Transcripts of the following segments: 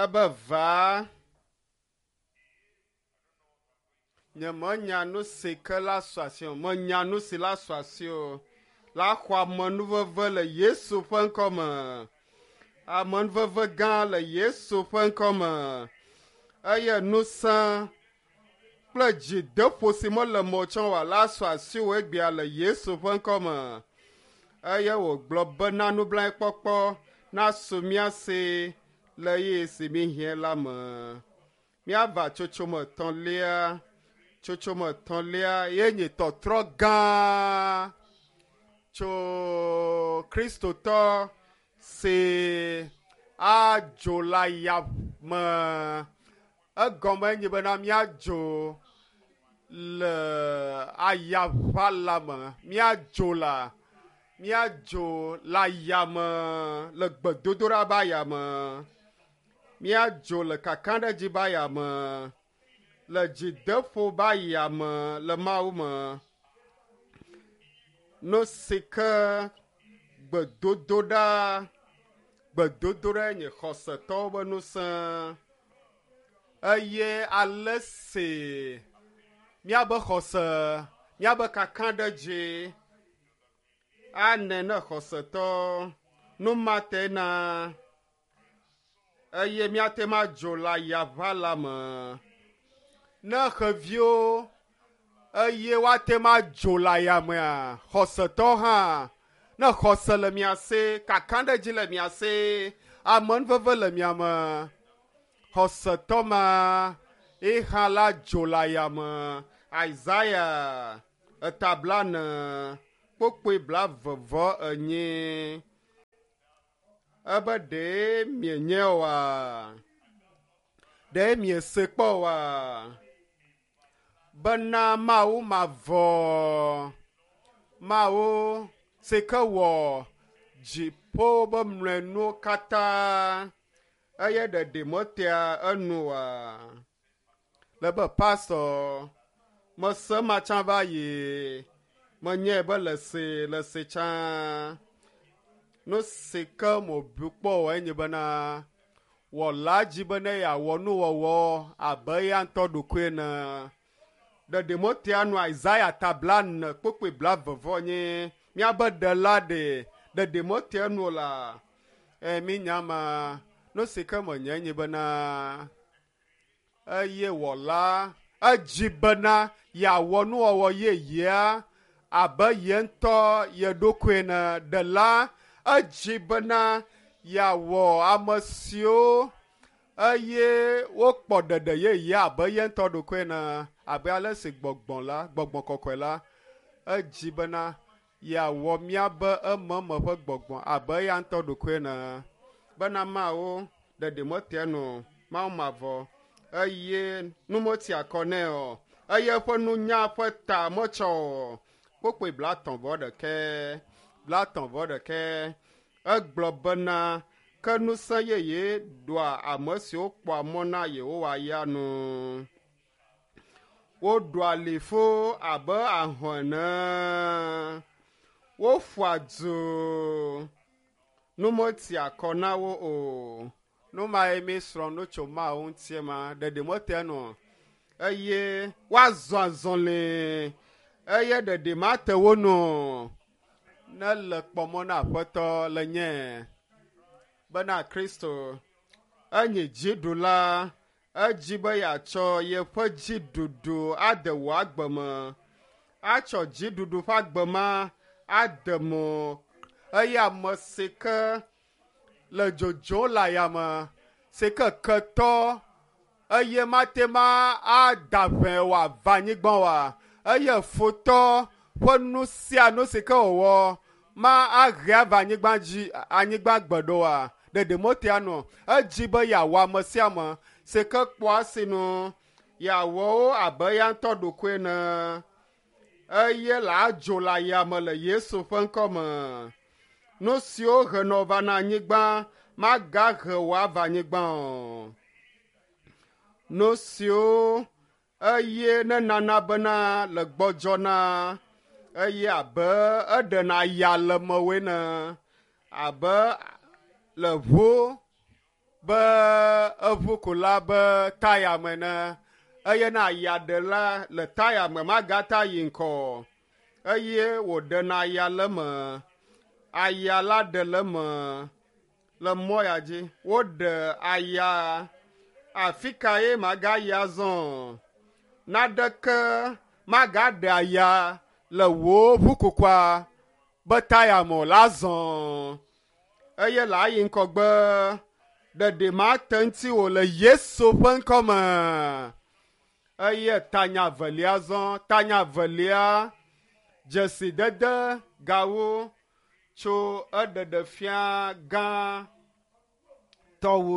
Ebe va. Nyemenya nu si ke la su asi o. Menya nu si la su asi o. La xɔ amenuveve le Yesu ƒe ŋkɔ me. Amenuveve gã le Yesu ƒe ŋkɔ me. Eye ŋusẽ kple dzideƒo si mele me o tsã oa la su asiwò egbea le Yesu ƒe ŋkɔ me. Eye wògblɔ bena nublanuikpɔkpɔ nasu mía si le ɣeyiɣi si míehiã la me. Míava tsotsome etɔ̃lia. Tsotsome etɔ̃lia ye nye tɔtrɔ gã tso Kristotɔ si adzo le aya me. Egɔme enye bena míadzo le ayaʋala me. Míadzo le míadzo le ayame le gbedodoɖa be ayame. Míadzo le kakaɖedzi be ayame le dzideƒo be ayame le Mawu me. Nu si ke gbedodoɖa gbedodoɖa nye xɔsetɔwo be ŋusẽ eye ale si míabe xɔse míabe kakaɖedzi anɛ ne xɔsetɔ nu ma te na eye míate ŋu adzo le ayaʋa la me. Ne xeviwo eye woate ŋu adzo le ayamea, xɔsetɔ hã ne xɔse le mia si, kakaɖedzi le mia si, amenuveve le mia me, xɔsetɔ ma ye hã la dzo le ayame. Isaya eta blane kpokpoe blaeve vɔ enyi. Ebe ɖe mienye oa? Ɖe miese kpɔ oa? Bena Mawu mavɔ, Mawu si ke wɔ dziƒo be mlɔenuwo katã eye ɖeɖi metea enu oa? Le be pastɔ mese ma tsã va yi menyae be le se le se tsã. Nu si ke mobu kpɔ o enye bena wɔla dzi be ne yeawɔ nuwɔwɔ abe eya ŋutɔ ɖokui ene. Ɖeɖi metea nu Isaya ta blane kpukpui blaeve vɔ nyi míabe ɖela ɖe ɖeɖi metea nu o la. E mínya ma nu si ke menyae nye bena eye wɔla edzi bena yeawɔ nuwɔwɔ yeyea abe ye ŋutɔ ye ɖokui ene. Ɖela edzi bena yeawɔ ame siwo eye wokpɔ ɖeɖe yeye abe ye ŋutɔ ɖokui ene abe ale si gbɔgbɔ la gbɔgbɔ kɔkɔe la edzi bena yeawɔ míabe ememe ƒe gbɔgbɔ abe eya ŋutɔ ɖokui ene bena Mawu ɖeɖi metea nu o, Mawu mavɔ eye nu metsi akɔ nɛ o eye eƒe nunya ƒe ta metsɔ o. Kpukpui blaetɔ̃ vɔ ɖekɛ blaetɔ̃ vɔ ɖekɛ egblɔ bena ke ŋusẽ yeye ɖoa ame siwo kpɔa mɔ na Yehowa ya nu. Woɖua liƒo abe ahɔ̃ ene. Woƒua du. Nu metia kɔ na wo o. Nu mae míesrɔ̃ nu tso Mawu ŋuti ma. Ɖeɖi mete enu o. Eye woazɔ azɔli eye ɖeɖi mate wo nu o. Ne le kpɔ mɔ na Aƒetɔ le nye bena Kristo enye dziɖula Edzi be yeatsɔ yeƒe dziɖuɖu ade wò agbe me, atsɔ dziɖuɖu ƒe agbe ma ade mo eye ame si ke le dzodzom le ayame, si ke ketɔ eye mate ŋu ada ʋɛ wòava anyigba oa, eye futɔ ƒe nu sia nu si ke wòwɔ ma ahe ava anyigba dzi anyigba gbe ɖoa, ɖeɖi metea nu o. Edzi be yeawɔ ame sia ame si ke kpɔa sinu yeawɔ wo abe eya ŋutɔ ɖokui ene eye le adzo le ayame le Yesu ƒe ŋkɔ me. Nu siwo henɔ va na anyigba magahe wò ava anyigba o. Nu siwo eye nenana bena le gbɔdzɔna eye abe eɖena ya le mewòe ene abe le ʋu be eʋukula be taya me ne eye ne aya ɖe la le taya me magata yi ŋkɔ eye wòɖena aya le me aya la ɖe le me le mɔ ya dzi woɖe aya afi ka ye magayi azɔ naɖeke magaɖe aya le wò ʋukukua be taya me o la zɔ eye le ayi ŋkɔgbe ɖeɖe mate ŋuti wò le Yesu ƒe ŋkɔ me eye tanya velia zɔ tanya velia dzesidede gawo tso eɖeɖefia gã tɔwo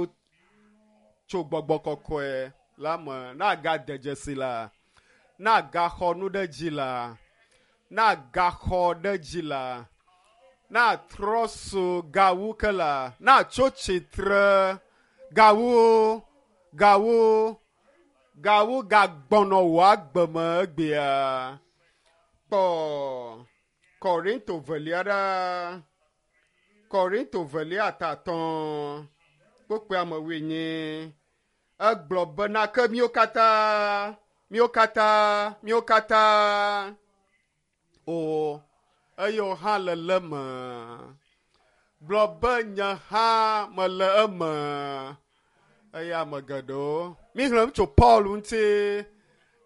tso gbɔgbɔ kɔkɔe la me nagade dzesi la nagaxɔ nu ɖe dzi la nagaxɔ ɖe dzi la natrɔ so gawu ke la natso tsitre gawu gawu gawu gagbɔnɔ wò agbe me egbea kpɔ Korinto velia ɖa Korinto velia tatɔ̃ kpokpea me wuienyi egblɔ bena ke míwo katã míwo katã míwo katã o eye wò hã le le me gblɔ be nye hã mele eme eye ame geɖewo míxlẽ nu tso Paul ŋuti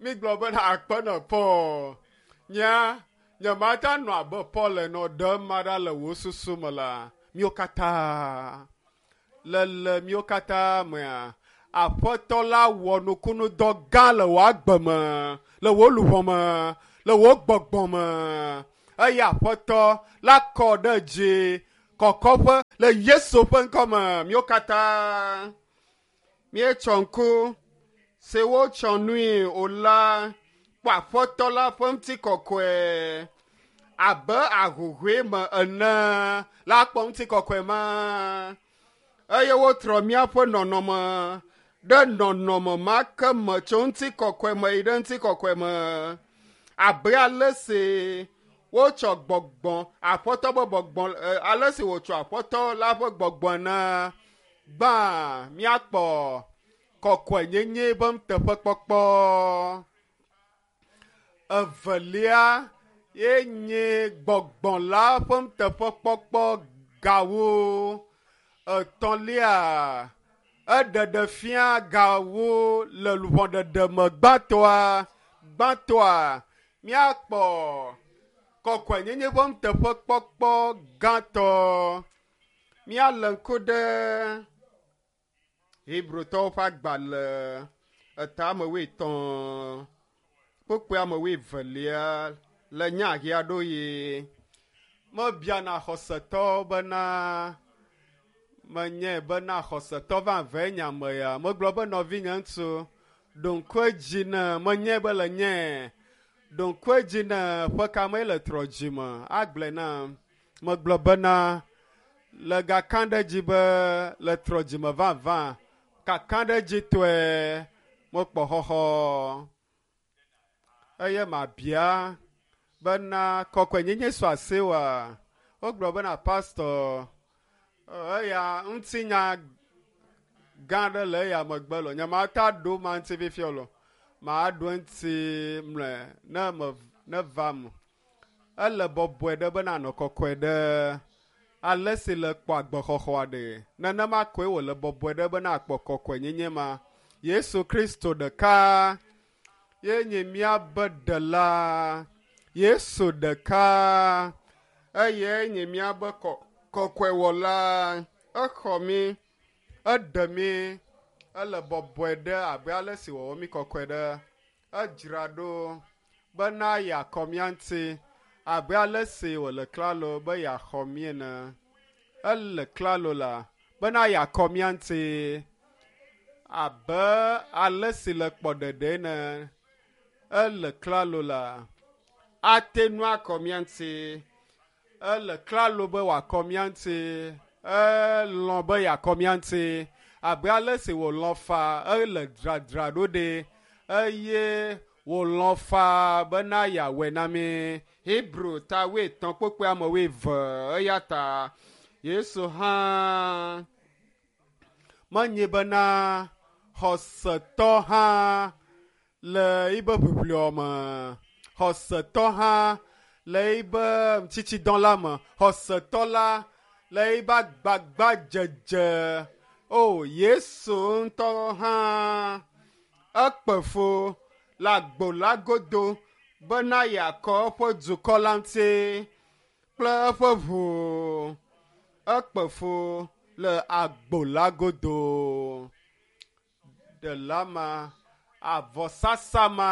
mígblɔ bena akpe nɔ Paul nyea nyemate anɔ abe Paul ene o ɖe ema ɖa le wò susu me la míwo katã le le míwo katã mea aƒetɔ la wɔ nukunudɔ gã le wò agbe me le wò luʋɔ me le wò gbɔgbɔ me eye aƒetɔ la kɔ ɖe dzi kɔkɔƒe le Yesu ƒe ŋkɔ me míwo katã míetsɔ ŋku si wotsɔ nui o la kpɔ aƒetɔ la ƒe ŋutikɔkɔe abe ahuhɔe me ene la kpɔ ŋutikɔkɔe ma eye wotrɔ míaƒe nɔnɔme ɖe nɔnɔme ma ke me tso ŋutikɔkɔe me yi ɖe ŋutikɔkɔe me abe ale si wotsɔ gbɔgbɔ aƒetɔ ƒe gbɔgbɔ ale si wotsɔ aƒetɔ la ƒe gbɔgbɔ ene gbã míakpɔ kɔkɔenyenye be nuteƒekpɔkpɔ evelia ye nye gbɔgbɔ la ƒe nuteƒekpɔkpɔ gawo etɔ̃lia eɖeɖe fia gawo le luʋɔɖeɖe me gbãtɔa gbãtɔa míakpɔ kɔkɔenyenye ƒe nuteƒekpɔkpɔ gãtɔ míalé ŋku ɖe Hebrotɔwo ƒe agbalẽ etame wuietɔ̃ kpukpui ame wuievelia le nya ɣi aɖewo yi mebiana xɔsetɔ bena menye bena xɔsetɔ vavãe nye ame ya megblɔ be nɔvinye ŋutsu ɖo ŋku edzi ne menye be le nye ɖo ŋku edzi ne ƒe ka mee le trɔ dzime agblɔe nam megblɔ bena le gaka ɖe dzi be le trɔ dzime vavã kaka ɖe dzi tɔe mekpɔ xɔxɔ eye mabia bena kɔkɔenyenye su asi wa wogblɔ bena pastɔ eya ŋutinya gã aɖe le eya megbe lo nyemate ɖo ma ŋuti fifia lo maɖo eŋuti mlɔe ne me ne va me ele bɔbɔe ɖe bena nɔ kɔkɔe ɖe ale si le kpɔ agbexɔxɔa ɖe nenema koe wòle bɔbɔe ɖe bena akpɔ kɔkɔenyenye ma Yesu Kristo ɖeka ye nye míabe ɖela Yesu ɖeka eye nye míabe kɔkɔewɔla exɔ mí eɖe mí ele bɔbɔe ɖe abe ale si wòwɔ mí kɔkɔe ɖe edzra ɖo bena yeakɔ mía ŋuti abe ale si wòle klalo be yeaxɔ mí ene ele klalo la bena yeakɔ mía ŋuti abe ale si le kpɔ ɖeɖe ene ele klalo la ate nu akɔ mía ŋuti ele klalo be wòakɔ mía ŋuti elɔ̃ be yeakɔ mía ŋuti abe ale si wòlɔ̃ fa ele dzradzra ɖo ɖe eye wòlɔ̃ fa bena yeawɔe na mí Hebrew ta wuietɔ̃ kpukpui ame wuieve eya ta Yesu hã Menye bena xɔsetɔ hã le yibe ʋiʋliɔ me, xɔsetɔ hã le yibe tsitsidɔ la me, xɔsetɔ la le yibe agbagbadzedze. O Yesu ŋutɔ hã ekpe fu le agbo la godo bena yeakɔ eƒe dukɔ la ŋuti kple eƒe ʋu. Ekpe fu le agbo la godo. Ɖela ma, avɔsasa ma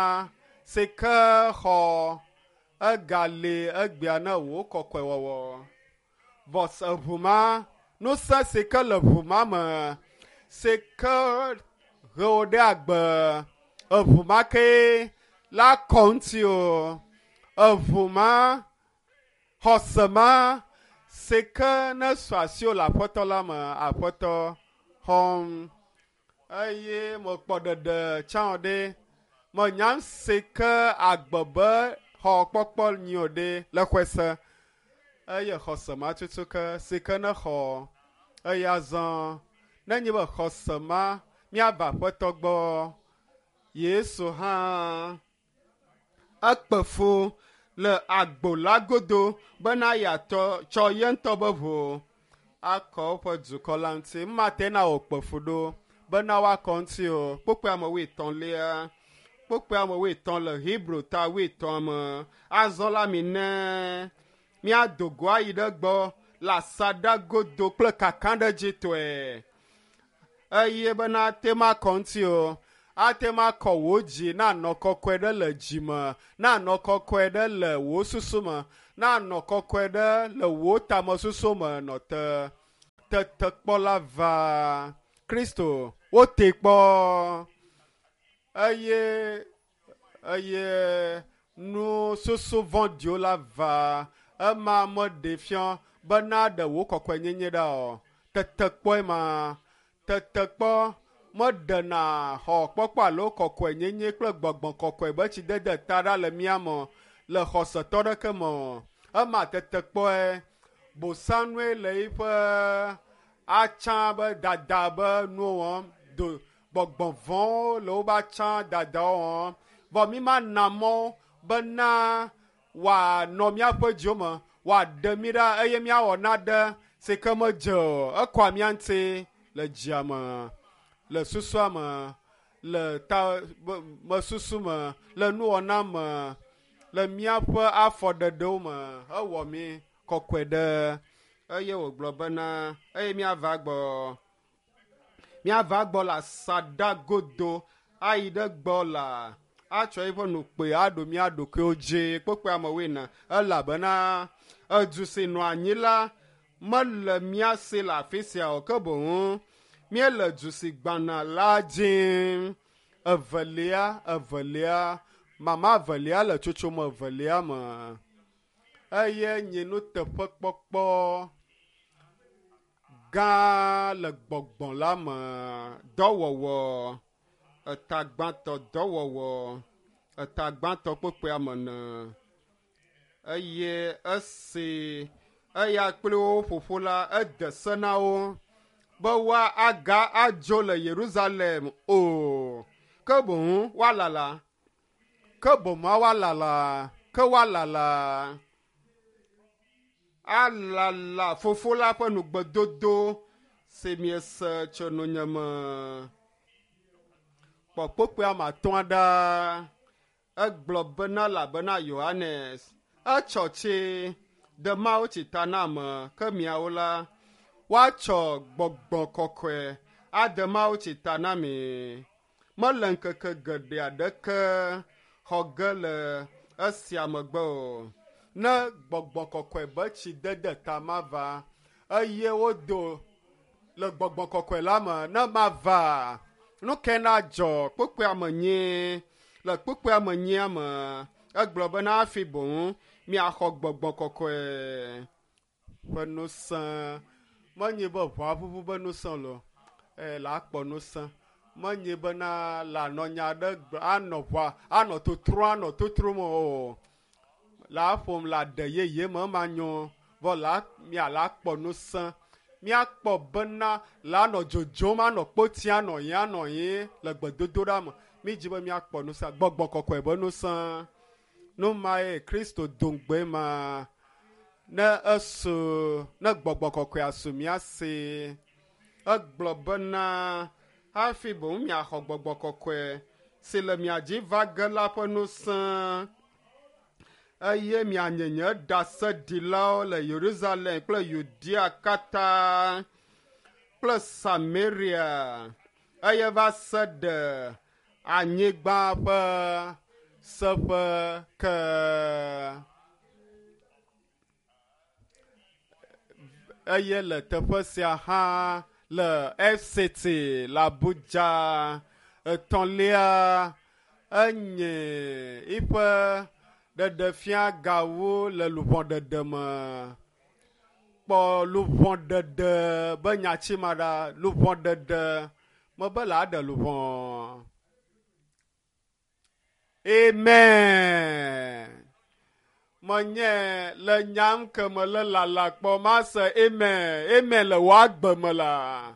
si ke xɔ egali egbea ne wò kɔkɔewɔwɔ. Vɔsa ʋu ma, ŋusẽ si ke le ʋu ma me si ke he wò ɖe agbe, eʋu ma kee la kɔ ŋuti o. Eʋu ma, xɔse ma si ke ne su asiwò le aƒetɔ la me, aƒetɔ xɔm. Eye mekpɔ ɖeɖe tsã o ɖe. Menya si ke agbe be xɔ kpɔkpɔ nyi o ɖe le xɔe se. Eye xɔse ma tutu ke si ke ne xɔ. Eye azɔ nenye be xɔse ma míava aƒetɔ gbɔ. Yesu hã ekpe fu le agbo la godo bena yeatɔ tsɔ ye ŋutɔ be ʋu akɔ woƒe dukɔ la ŋuti. Mate na wòkpe fu ɖo bena woakɔ ŋuti o. Kpukpui ame wuietɔ̃lia, kpukpui ame wuietɔ̃ le Hebrew ta wuietɔ̃a me. Azɔ la mi ne míado go ayi ɖe gbɔ le asaɖa godo kple kakaɖedzitɔe. Eye bena ate ŋu akɔ ŋuti o. Ate ŋu akɔ wò dzi nanɔ kɔkɔe ɖe le dzi me, nanɔ kɔkɔe ɖe le wò susu me, nanɔ kɔkɔe ɖe le wò tamesusu me nɔ te. Tetekpɔ la va. Kristo, wote kpɔ. Eye eye nu susu vɔ̃ɖiwo la va. Ema meɖe fia bena ɖe wò kɔkɔenyenye ɖa o. Tetekpɔe ma. Tetekpɔ meɖena xɔ kpɔkpɔ alo kɔkɔenyenye kple gbɔgbɔ kɔkɔe be tsidede ta ɖa le mía me le xɔsetɔ ɖeke me o. Ema tetekpɔe. Bosanue le eƒe atsã be dada be nuwo wɔm. Do gbɔgbɔ vɔ̃wo le woƒe atsã dadawo wɔm. Vɔ mi mana mɔ bena wòanɔ míaƒe dziwo me, wòaɖe mí ɖa eye míawɔ naɖe si ke medze o. Ekɔa mía ŋuti le dzia me, le susua me, le ta mesusu me, le nuwɔna me, le míaƒe afɔɖeɖewo me. Ewɔ mí kɔkɔe ɖe. Eye wògblɔ bena eye míava gbɔ. Míava gbɔ le asaɖa godo ayi ɖe gbɔ la atsɔ eƒe nukpe aɖo mía ɖokuiwo dzi. Kpokpɔe amewoe na elabena edu si nɔ anyi la mele mía si le afi sia o ke boŋ míele du si gbana la dzim. Evelia, evelia, mama evelia le tsotsome evelia me. Eye nye nuteƒekpɔkpɔ gã le gbɔgbɔ la me. Dɔwɔwɔ, eta gbãtɔ dɔwɔwɔ, eta gbãtɔ kpokpoea me ne. Eye esi eya kple wo ƒoƒo la, ede se na wo be woaga adzo le Yerusalem o, ke boŋ woalala. Ke boŋ woalala, ke woalala. Alala fofo la ƒe nugbedodo si miese tso nunye me. Kpɔ kpokpoe ame atɔ̃a ɖa. Egblɔ bena elabena Yohanes etsɔ tsi de mawutsi ta na ame, ke miawo la, woatsɔ gbɔgbɔ kɔkɔe ade mawutsi ta na mi. Mele ŋkeke geɖe aɖeke xɔ ge le esia megbe o. Ne gbɔgbɔ kɔkɔe be tsi dede ta mava eye wodo le gbɔgbɔ kɔkɔe la me ne mava, nu ke na dzɔ kpukpuia me nyuie. Le kpukpuia me nyuia me, egblɔ bena hafi boŋ miaxɔ gbɔgbɔ kɔkɔe ƒe ŋusẽ. Menye be ʋɔa ʋuʋu be ŋusẽ lo, eye la kpɔ ŋusẽ. Menye bena la nɔ nya ɖe gblɔ anɔ ʋɔa anɔ totro anɔ totrom o. La ƒom la ɖe yeye me ema nyo vɔ la mia la kpɔ ŋusẽ. Míakpɔ bena la nɔ dzodzom anɔ kpoti anɔ yi anɔ yi le gbedodoɖa me. Mídzi be míakpɔ ŋusẽ, gbɔgbɔ kɔkɔe be ŋusẽ. Nu mae Kristo do ŋugbe ma. Ne esu, ne gbɔgbɔ kɔkɔea su mía si. Egblɔ bena hafi boŋ miaxɔ gbɔgbɔ kɔkɔe si le mia dzi va ge la ƒe ŋusẽ eye mianye nye ɖaseɖilawo le Yerusalem kple Yudea katã kple Samaria eye va se ɖe anyigba ƒe seƒe ke. Eye le teƒe sia hã le FCT le Abuja. Etɔ̃lia enye eƒe ɖeɖefia gawo le luʋɔɖeɖe me. Kpɔ luʋɔɖeɖe be nyatsi ma ɖa. Luʋɔɖeɖe mebe le aɖe luʋɔ. Amen. Menye le nyam ke me le lala kpɔ mase amen. Amen le wò agbe me la.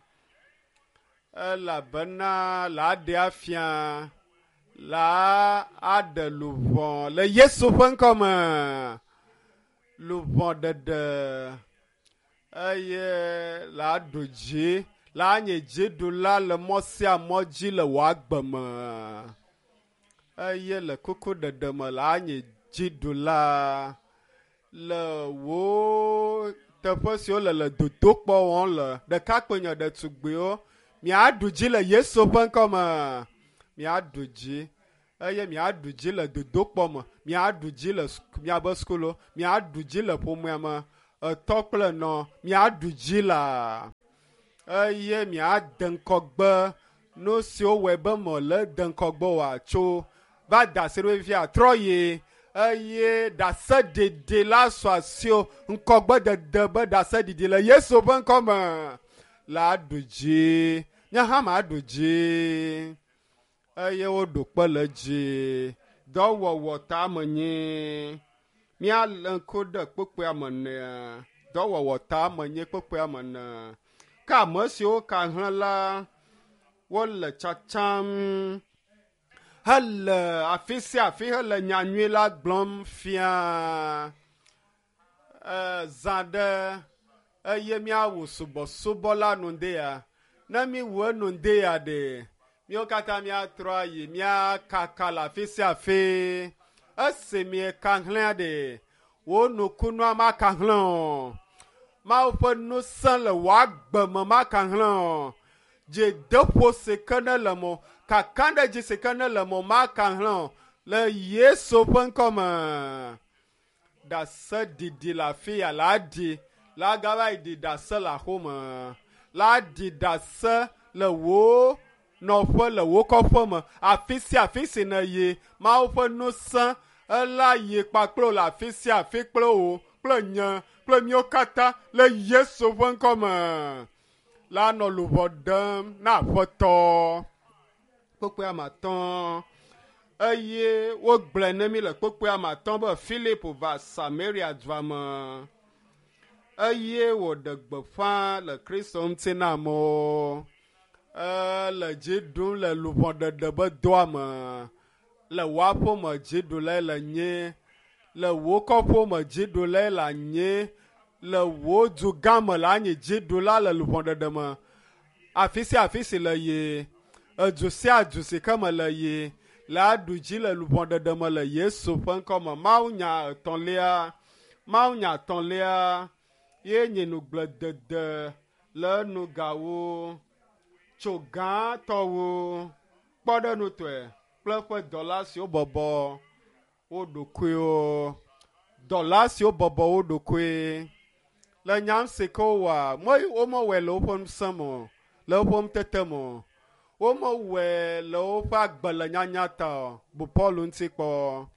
Elabena la aɖe afia la aɖe luʋɔ le Yesu ƒe ŋkɔ me. Luʋɔ ɖeɖe eye la ɖu dzi la nye dziɖula le mɔ sia mɔ dzi le wò agbe me. Eye le kukuɖeɖe me la nye dziɖula le wò teƒe siwo le le dodokpɔ wɔm le ɖekakpui nye ɖetugbiwo miaɖu dzi le Yesu ƒe ŋkɔ me. Miaɖu dzi eye miaɖu dzi le dodokpɔ me, miaɖu dzi le miabe sukulu, miaɖu dzi le ƒomea me, etɔ kple nɔ, miaɖu dzi la eye miade ŋkɔgbe nu siwo wɔe be mele de ŋkɔgbe oa tso va da asi ɖo fifia trɔ yi eye ɖaseɖiɖi la sɔ asiwò ŋkɔgbedede be ɖaseɖiɖi le Yesu ƒe ŋkɔ me la ɖu dzi. Nye hã maɖu dzi eye woɖo kpe le dzi. Dɔwɔwɔ ta menye. Míalé ŋku ɖe kpukpuia me nea. Dɔwɔwɔ ta menye kpukpuia me ne. Ke ame siwo ka hlẽ la, wole tsatsam hele afi sia afi hele nyanyui la gblɔm fia. Zã ɖe eye míawu subɔsubɔ la nu ɖea. Ne míwu enu ɖea ɖe, míawo katã míatrɔ ayi míakaka le afi sia afi. Esi mieka hlẽa ɖe, wò nukunua maka hlẽ o. Mawu ƒe ŋusẽ le wò agbe me maka hlẽ o. Dzideƒo si ke ne le mo, kakaɖedzi si ke ne le mo maka hlẽ o le Yesu ƒe ŋkɔ me. Ɖaseɖiɖi le afi ya la ɖi la gava yi ɖi ɖase le axome. La ɖi ɖase le wò nɔƒe le wò kɔƒe me. Afi sia afi si nèyi, Mawu ƒe ŋusẽ ela yi kpakple wò le afi sia afi kple wò kple nye kple míawo katã le Yesu ƒe ŋkɔ me. La nɔ luʋɔ ɖem na Aƒetɔ. Kpukpui ame atɔ̃. Eye wogblɔe ne mí le kpukpui ame atɔ̃ be Philip va Samaria dua me eye wòɖe gbeƒã le Kristo ŋuti na amewo. Ele dzi ɖum le luʋɔɖeɖe be dɔa me. Le wò aƒeme dziɖulae le nye, le wò kɔƒeme dziɖulae le anye, le wò dugã me le anyi dziɖula le luʋɔɖeɖe me. Afi sia afi si le ye, edu sia du si ke me le ye, le aɖu dzi le luʋɔɖeɖe me le Yesu ƒe ŋkɔ me. Mawunya etɔ̃lia, mawunya etɔ̃lia ye nye nugbledede le nugawo tso gãtɔwo kpɔɖeŋutɔe kple eƒe dɔla siwo bɔbɔ wo ɖokuiwo. Dɔla siwo bɔbɔ wo ɖokui le nyam si ke wowɔa, womewɔe le woƒe ŋusẽ me o, le woƒe ŋutete me o. Womewɔe le woƒe agbe le nyanya ta o. Bu Paul ŋuti kpɔ.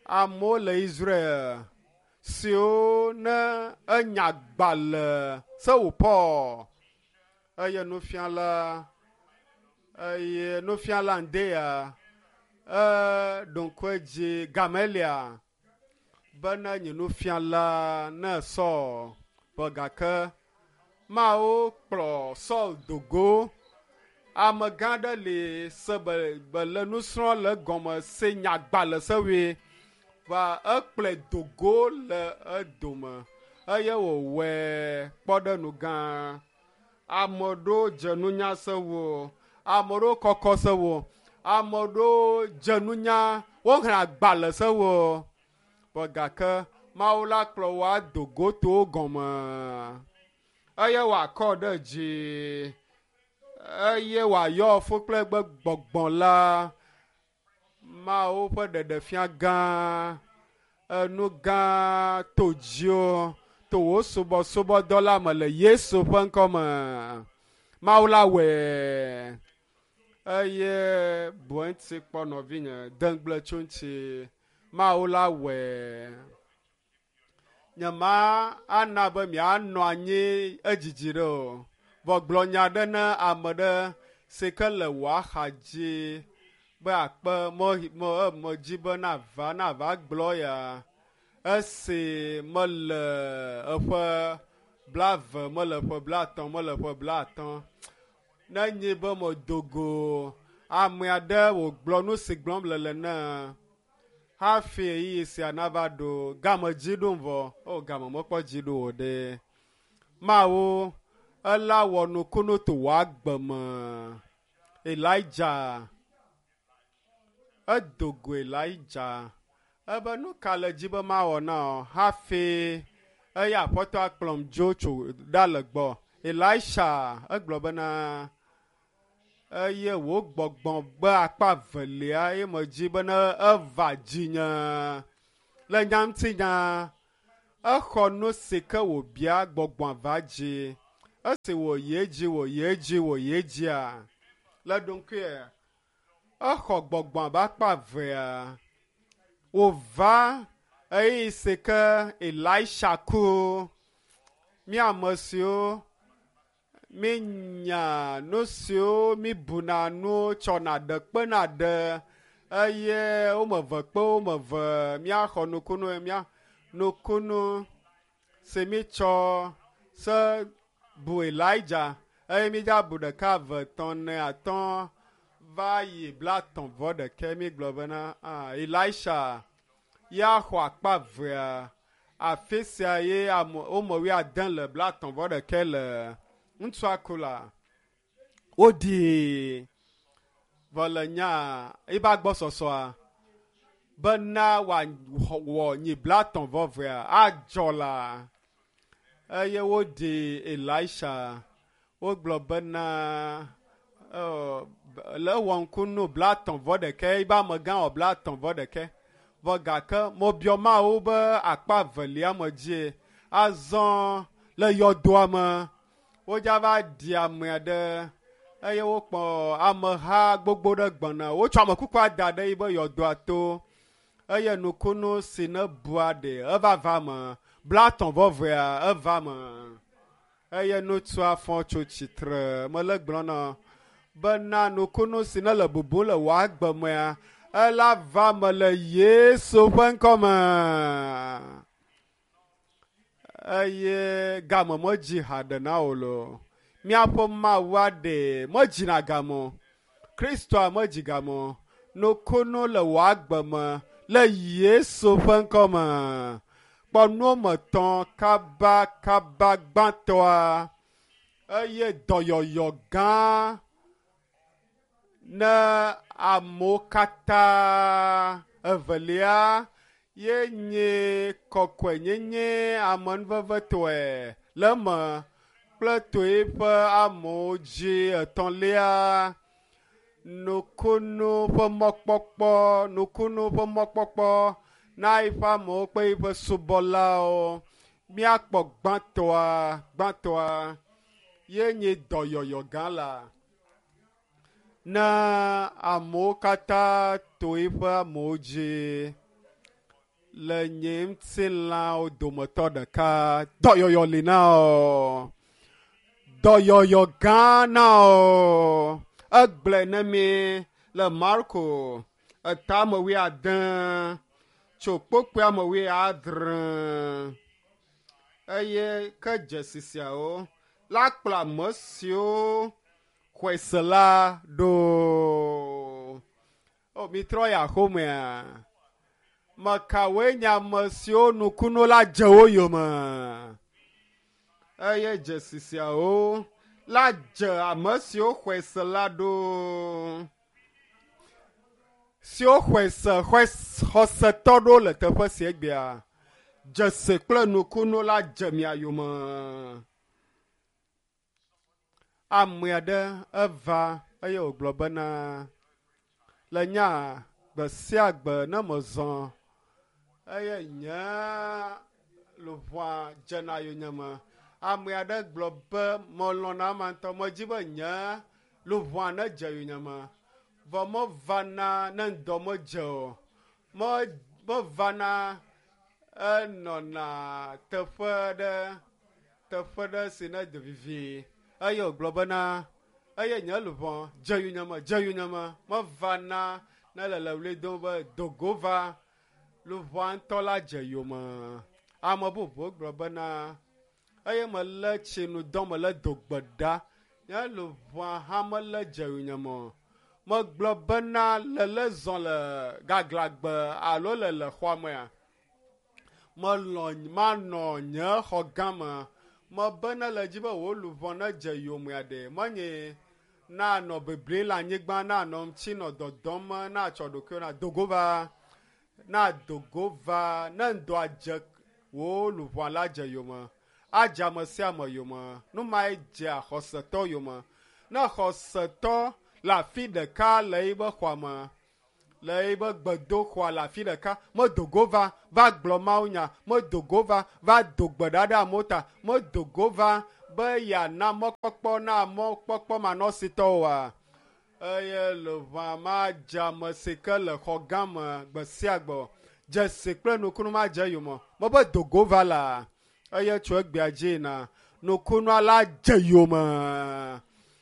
Amewo le Israel siwo ne enya gbalẽ se wò Paul eye nufiala eye nufiala ŋdea eɖo ŋku edzi Gamelia bena nye nufiala ne Saul be gake Mawu kplɔ Saul dogo. Amegã ɖe li se be be le nusrɔ̃ le gɔme se nyagbalẽ sewoe va ekplɔe dogo le edome eye wòwɔe kpɔɖeŋu gã. Ame ɖewo dze nunya sewo, ame ɖewo kɔkɔ sewo, ame ɖewo dze nunya, woxlẽ agbalẽ sewo. Vɔ gake Mawu la kplɔ wo ado go to wo gɔme eye wòakɔ ɖe dzi eye wòayɔ fo kple eƒe gbɔgbɔ la. Mawu ƒe ɖeɖefia gã, enu gã to dziwò to wò subɔsubɔdɔ la me le Yesu ƒe ŋkɔ me. Mawu la wɔe eye bu eŋuti kpɔ nɔvinye, de ŋugble tso eŋuti. Mawu la wɔe. Nyema ana be mianɔ anyi edzidzi ɖe o. Vɔ gblɔ nya ɖe ne ame ɖe si ke le wò axa dzi be akpe me me medzi be nava nava gblɔ ya. Esi mele eƒe blave, mele ƒe blatɔ̃, mele ƒe blatɔ̃. Ne nyi be medo go ame aɖe wògblɔ nu si gblɔm le le ne hafi ɣeyiɣi sia nava ɖo game dzi ɖom vɔ. O game mekpɔ dzi ɖo o ɖe. Mawu ela wɔ nukunu to wò agbe me. Elijah edo go Elijah ebe nu ka le dzi be mawɔ na wò hafi eya aƒetɔ akplɔm dzo tso ɖa le gbɔ. Elisha egblɔ bena eye wò gbɔgbɔ be akpa velia ye medzi bena eva dzinye le nya ŋutinya exɔ nu si ke wòbia gbɔgbɔa va dzi esi wòyi edzi wòyi edzi wòyi edzia le ɖokuie exɔ gbɔgbɔa be akpa evea wòva ɣeyiɣi si ke Elisha ku mí ame siwo míenya nu siwo míbuna nu tsɔna ɖe kpena ɖe eye wome eve kpe wome eve míaxɔ nukunu mía nukunu si mítsɔ se bu Elijah eye mídza bu ɖeka eve etɔ̃ ene atɔ̃ va yi blatɔ̃ vɔ ɖekɛ mígblɔ bena ah, Elisha ya xɔ akpa evea afi sia ye ame wome wuiade le blatɔ̃ vɔ ɖekɛ le ŋutsua ku la woɖii vɔ le nya ebe agbɔsɔsɔa bena wòawɔ nyi blatɔ̃ vɔ evea adzɔ la eye woɖi Elisha wogblɔ bena le ewɔ ŋku nu blatɔ̃ vɔ ɖekɛ ebe amegã wɔ blatɔ̃ vɔ ɖekɛ vɔ gake mebiɔ Mawu be akpa evelia me dzie azɔ le yɔdoa me wodza va ɖi ame aɖe eye wokpɔ ameha gbogbo ɖe gbɔna wotsɔ amekukua da ɖe yibe yɔdoa to eye nukunu si ne bua ɖe eva va me blatɔ̃ vɔ evea eva me eye ŋutsua fɔ tso tsitre mele gblɔ na bena nukunu si ne le bubu le wò agbe mea ela va me le Yesu ƒe ŋkɔ me eye game medzi haɖe na wò lo. Míaƒe Mawua ɖe medzina game o. Kristoa medzi game o. Nukunu le wò agbe me le Yesu ƒe ŋkɔ me. Kpɔ nuwo tɔ̃ kabakaba gbãtɔa eye dɔyɔyɔ gã ne amewo katã. Evelia ye nye kɔkɔenyenye amenuvevetɔe le eme kple to eƒe amewo dzi. Etɔ̃lia nukunu ƒe mɔkpɔkpɔ nukunu ƒe mɔkpɔkpɔ na eƒe amewo kple eƒe subɔlawo. Míakpɔ gbãtɔa gbãtɔa ye nye dɔyɔyɔ gã la ne amewo katã to eƒe amewo dzi le nye ŋutilãwo dometɔ ɖeka dɔyɔyɔ li na wò dɔyɔyɔ gã na wò egblɔe ne mi le Marko etame wuiade tso kpokpoe me wuiadre eye ke dzesi siawo la kplɔ ame siwo xɔe se la ɖo. O, mitrɔ yi axomea. Mekawoe nye ame siwo nukunu la dze wo yome? Eye dzesi siawo la dze ame siwo xɔe se la ɖo. Siwo xɔe se xɔe xɔsetɔ ɖo le teƒe sia egbea. Dzesi kple nukunu la dze mia yome. Ame aɖe eva eye wògblɔ bena le nya gbe sia gbe ne mezɔ eye nye luʋɔa dzena yonyeme. Ame aɖe gblɔ be melɔ̃na ama ŋutɔ medzi be nye luʋɔa nedze yonyeme vɔ mevana ne ŋdɔ medze o. Me mevana enɔna teƒe ɖe teƒe ɖe si ne do vivi eye wògblɔ bena eye nye luʋɔ dze yonyeme dze yonyeme mevana ne le le ɣli dom be dogo va luʋɔa ŋutɔ la dze yome. Ame bubu gblɔ bena eye melé tsinudɔ mele do gbe ɖa nye luʋɔa hã mele dze yonyeme o. Megblɔ bena lele zɔ le gaglãgbe alo le le xɔa mea melɔ̃ manɔ nye xɔ gã me mebe ne le dzi be wò luʋɔ nedze yomea ɖe menye nanɔ bibli le anyigba nanɔ ŋuti nɔ dɔdɔm natsɔ ɖokuiwo na dogo va na dogo va ne ŋdɔa dze wò luʋɔa la dze yome adze ame sia ame yome nu mae dzea xɔsetɔ yome ne xɔsetɔ le afi ɖeka le yiƒe xɔa me le yiƒe gbedoxɔa le afi ɖeka medo go va va gblɔ mawunya medo go va va do gbe ɖa ɖe amewo ta medo go va be yeana mɔkpɔkpɔ na mɔkpɔkpɔ manɔsitɔwoa eye luʋɔa madze ame si ke le xɔ gã me gbe sia gbe o. Dzesi kple nukunu madze yome mebe do go va la eye tso egbea dzi yina nukunua la dze yome.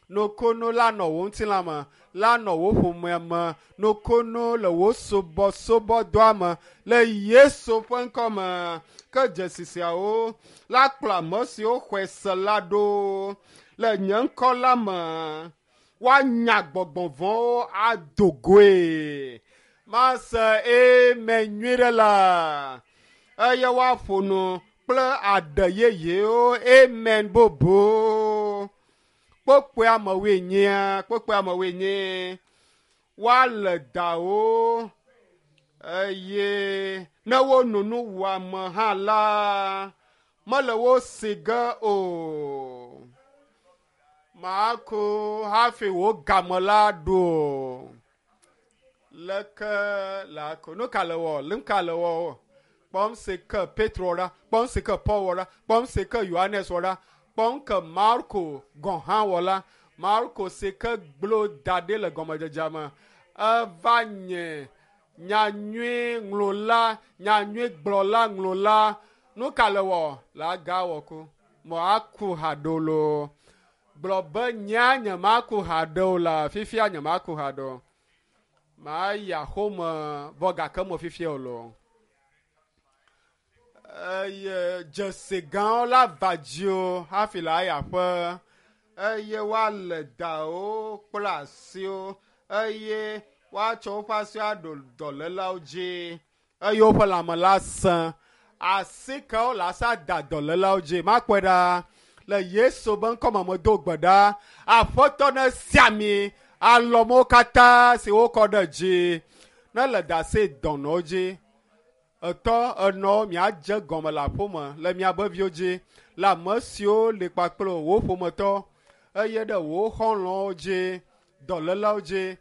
Nukunu la nɔ wò ŋutilã me la nɔ wò ƒomea me nukunu le wò subɔsubɔdɔa me le Yesu ƒe ŋkɔ me ke dzesi siawo la kplɔ ame siwo xɔe se la ɖo le nye ŋkɔ la me woanya gbɔgbɔ vɔ̃wo ado goe. Mase amen nyui ɖe la eye woaƒo nu kple aɖe yeyewo amen bubu. Kpokpoe amewoe nyia kpokpoe amewoe nye woale dawo eye ne wono nu wuame hã la mele wo si ge o. Maku hafi wò game la ɖo o. Leke la ko nu ka le wɔ nu ka le wɔ kpɔm si ke Petro wɔ ɖa kpɔm si ke Paul wɔ ɖa kpɔm si ke Yohanes wɔ ɖa kpɔm ke Marko gɔ̃ hã wɔ la Marko si ke gblɔ da ɖi le gɔmedzedzea me eva nye nyanyui ŋlɔla nyanyui gblɔla ŋlɔla nu ka le wɔ la ga wɔ ku mɔ aku haɖo lo gblɔ be nyea nyemaku haɖe o la fifia nyemaku haɖe o mayi axome vɔ gake mo fifia o lo eye dzesi gãwo la va dziwò hafi le ayi aƒe eye woale dawo kple asiwo eye woatsɔ woƒe asiwo aɖo dɔlélawo dzi eye woƒe lãme la sẽ asi kewo le asa da dɔlélawo dzi makpɔe ɖa le Yesu be ŋkɔme medo gbe ɖa aƒetɔ ne sia mi alɔmewo katã si wokɔ ɖe dzi ne le da asi dɔnɔwo dzi etɔ enɔ miadze gɔme le aƒeme le miabe viwo dzi le ame siwo li kpakple wò ƒometɔ eye ɖe wò xɔlɔ̃wo dzi dɔlélawo dzi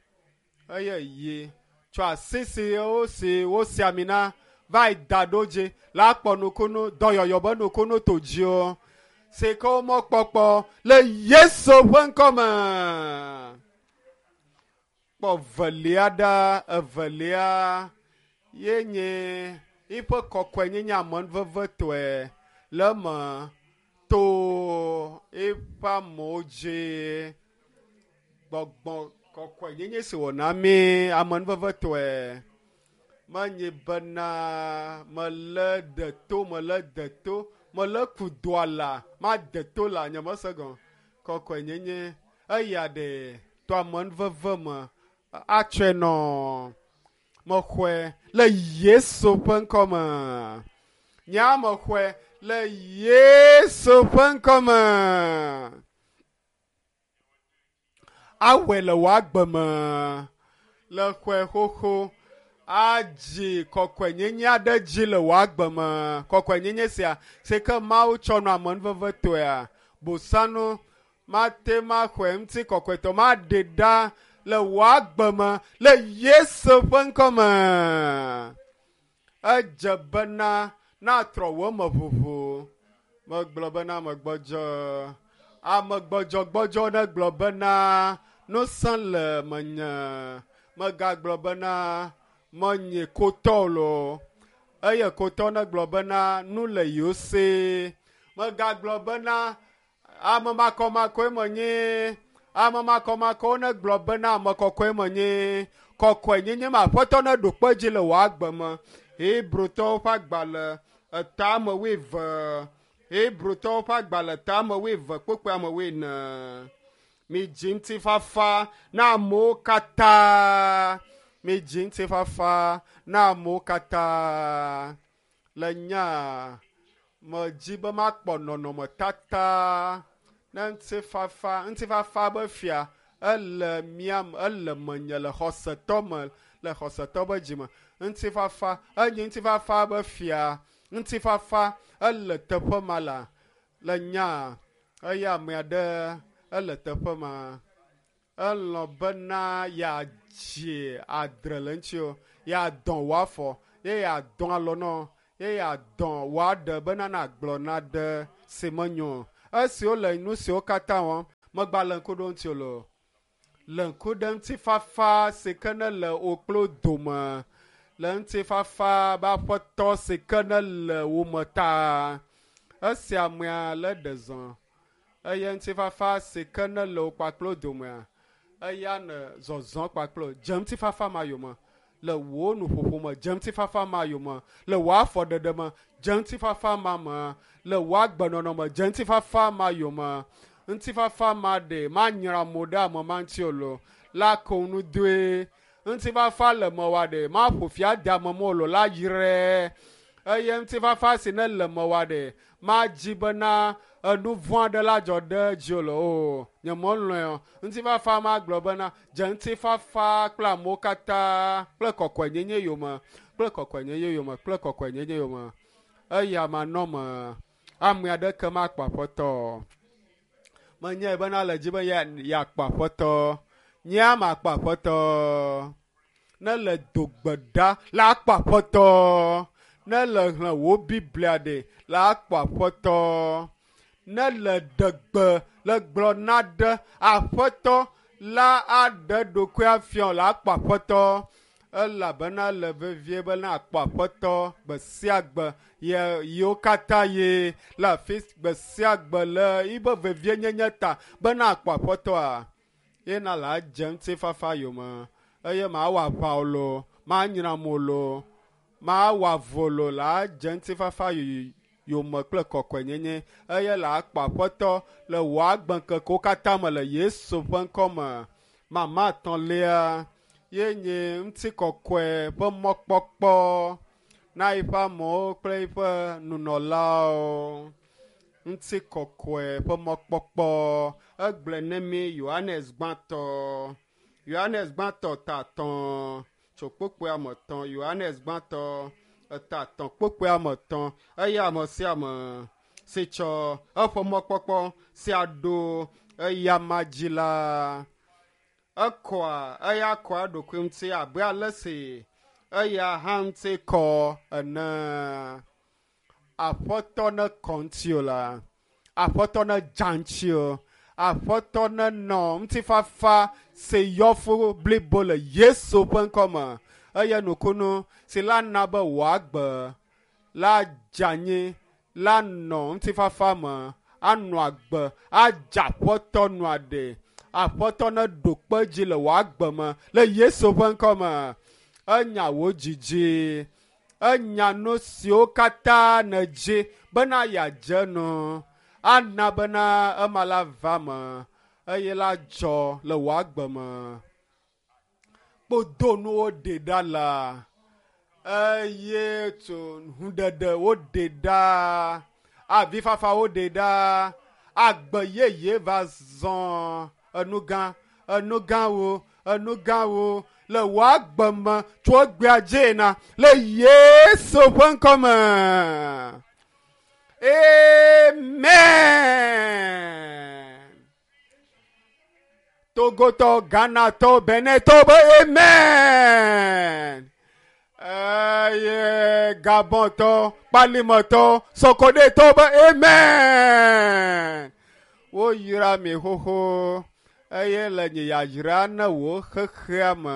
eye yi tsɔ asi siwo si wosi ami na va yi da ɖo dzi la kpɔ nukunu dɔyɔyɔ be nukunu to dziwò si ke womekpɔkpɔ le Yesu ƒe ŋkɔme. Kpɔ velia ɖa evelia ye nye yiƒe kɔkɔenyenye amenuvevetɔe le eme to eƒe amewo dzi. Gbɔgbɔ kɔkɔenyenye si wòna mí amenuvevetɔe menye bena melé ɖe to melé de to Mele ku doa la, made to la, nye mese gɔme. Kɔkɔenyenye eya ɖe to amenuveve me atsɔe nɔ. Mexɔe le Yesu ƒe ŋkɔ me. Nye mexɔe le Yesu ƒe ŋkɔ me. Awɔe le wò agbe me. Le xɔe xoxo adzi kɔkɔenyenye aɖe dzi le wò agbe me. Kɔkɔenyenye sia si ke Mawu tsɔ nɔ amenuveve tɔea, bosanu mate maxɔe ŋuti kɔkɔetɔ maɖe ɖa le wò agbe me le Yesu ƒe ŋkɔ me. Edze bena natrɔ wò me ʋuʋu. Megblɔ bena megbɔdzɔ. Ame gbɔdzɔgbɔdzɔ ne gblɔ bena nusẽ le menye. Megagblɔ bena menye kotɔ lo. Eye kotɔ ne gblɔ bena nu le yewo si. Megagblɔ bena ame makɔmakɔe menye. Ame makɔmakɔwo ne gblɔ bena ame kɔkɔe menye. Kɔkɔenyenye me Aƒetɔ ne ɖo kpe dzi le wò agbe me. Hebrotɔwo ƒe agbalẽ etame wuieve. Hebrotɔwo ƒe agbalẽ tame wuieve kpokpoe ame wuiene. Midzi ŋutifafa na amewo katã. Midzi ŋutifafa na amewo katã. Le nya medzi be makpɔ nɔnɔmetata ne ŋutifafa ŋutifafa be fia ele mía ele menye le xɔsetɔ me le xɔsetɔ be dzime. Ŋutifafa enye ŋutifafa be fia. Ŋutifafa ele teƒe ma la le nya eye ame aɖe ele teƒe ma. Elɔ̃ bena yeadzi adre le ŋutiwò, yeadɔ wò afɔ, ye yeadɔ alɔ nɔ, ye yeadɔ wò aɖe bena nagblɔ naɖe si menyo o. Esi wole nu siwo katã wɔm, megba le ŋku ɖo ŋutiwò loo. Le ŋku ɖe ŋutifafa si ke ne le wò kple wo dome, le ŋutifafa be aƒetɔ si ke ne le wò me ta. Esi amea le ɖe zɔ eye ŋutifafa si ke ne le wò kpakple wo domea, eya ne zɔzɔ kpakple wo. Dze ŋutifafa ma yome le wò nuƒoƒo me, dze ŋutifafa ma yome le wò afɔɖeɖe me, dze ŋutifafa ma me le wò agbenɔnɔ me, dze ŋutifafa ma yome. Ŋutifafa ma ɖe manyra mo ɖe ame ma ŋuti o lo la ko nu doe. Ŋutifafa le mewòa ɖe maƒo fi ade ame ma o lo la yrɛ. Eye ŋutifafa si ne le mewòa ɖe madzi bena enu vɔ̃ aɖe la dzɔ ɖe dzi o lo o. Nye melɔ̃e o. Ŋutifafa ma gblɔ bena dze ŋutifafa kple amewo katã kple kɔkɔenyenye yome, kple kɔkɔenyenye yome, kple kɔkɔenyenye yome. Eya manɔ me. Ame aɖeke makpɔ Aƒetɔ o. Menyae bena le dzi be yeakpɔ Aƒetɔ. Nyea makpɔ Aƒetɔ. Ne le do gbe ɖa la akpɔ Aƒetɔ. Ne le xlẽ wò Biblia ɖe la akpɔ Aƒetɔ. Ne le ɖe gbe le gblɔ na ɖe Aƒetɔ la aɖe ɖokuia fiɔ la akpɔ Aƒetɔ. Elabena le vevie be na akpɔ Aƒetɔ gbe sia gbe ye yiwo katã ye le afi gbe sia gbe le yibe vevienyenye ta be na akpɔ Aƒetɔa. Ye na la dze ŋutifafa yome eye mawɔ aʋa o lo, manyra mo lo, mawɔ avu o lo la dze ŋutifafa yome kple kɔkɔenyenye eye la akpɔ Aƒetɔ le wò agbeŋkekewo katã me le Yesu ƒe ŋkɔ me. Mama etɔ̃lia ye nye ŋutikɔkɔe ƒe mɔkpɔkpɔ na eƒe amewo kple eƒe nunɔlawo. Ŋutikɔkɔe ƒe mɔkpɔkpɔ egblɔe ne mi Yohanes gbãtɔ. Yohanes gbãtɔ ta etɔ̃ tso kpokpoe ame etɔ̃. Yohanes gbãtɔ eta etɔ̃ kpokpoe ame etɔ̃ eye ame sia ame si tsɔ eƒe mɔkpɔkpɔ sia ɖo eyama dzi la, ekɔa eya kɔa eɖokui ŋuti abe ale si eya hã ŋuti kɔ ene. Aƒetɔ ne kɔ ŋuti o la, Aƒetɔ ne dza ŋuti o, Aƒetɔ ne nɔ ŋutifafa si yɔ fu blibo le Yesu ƒe ŋkɔ me eye nukunu si la na be wò agbe la dze anyi la nɔ ŋutifafa me anɔ agbe adze Aƒetɔ nua ɖe. Aƒetɔ ne ɖo kpe dzi le wò agbe me le Yesu ƒe ŋkɔ me. Enya wò dzidzi. Enya nu siwo katã nèdzi bena yeadze nu. Ana bena ema la va me eye la dzɔ le wò agbe me. Kpodonuwo ɖe ɖa la eye tso huɖeɖe woɖe ɖa, avifafa woɖe ɖa, agbe yeye va zɔ enugã, enugãwo, enugãwo le wò agbe me tso egbea dzi na le Yesu ƒe ŋkɔ me. Amen. Togotɔ, Ghanatɔ, Benetɔ be amen. Eye Gabɔntɔ, Kpalimetɔ, Sokodetɔ be amen. Woyra mi xoxo eye le nye yayra ne wò xexea me.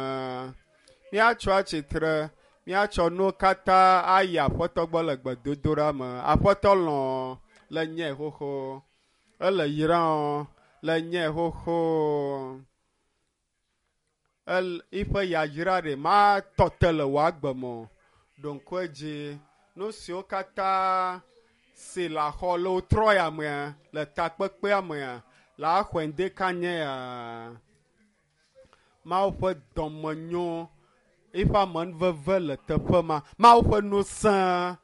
Míatsɔ atsitre, míatsɔ nuwo katã ayi Aƒetɔ gbɔ le gbedodoɖa me. Aƒetɔ lɔ̃ le nye xoxo. Ele yram le nye xoxo. El eƒe yayra ɖe matɔ te le wò agbe me o. Ɖo ŋku edzi nu siwo katã si le axɔ le wotrɔ ya mea, le takpekpea mea, le axɔe ŋdi kanye ya. Mawu ƒe dɔmenyo, eƒe amenuveve le teƒe ma. Mawu ƒe ŋusẽ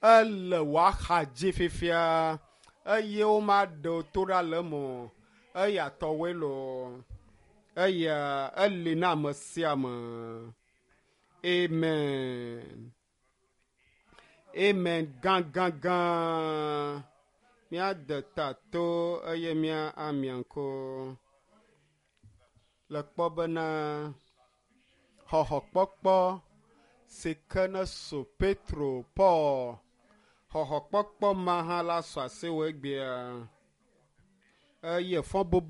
ele wò axa dzi fifia eye womaɖe wò to ɖa le eme o. Eya tɔwoe loo. Eya eli na ame sia ame. Amen. Amen gãgãgã. Míade ta to eye mía amia ŋku. Le kpɔ bena xɔxɔkpɔkpɔ si ke ne so Petro, Paul, xɔxɔkpɔkpɔ ma hã la sɔ asiwò egbea. Eye fɔ bobo.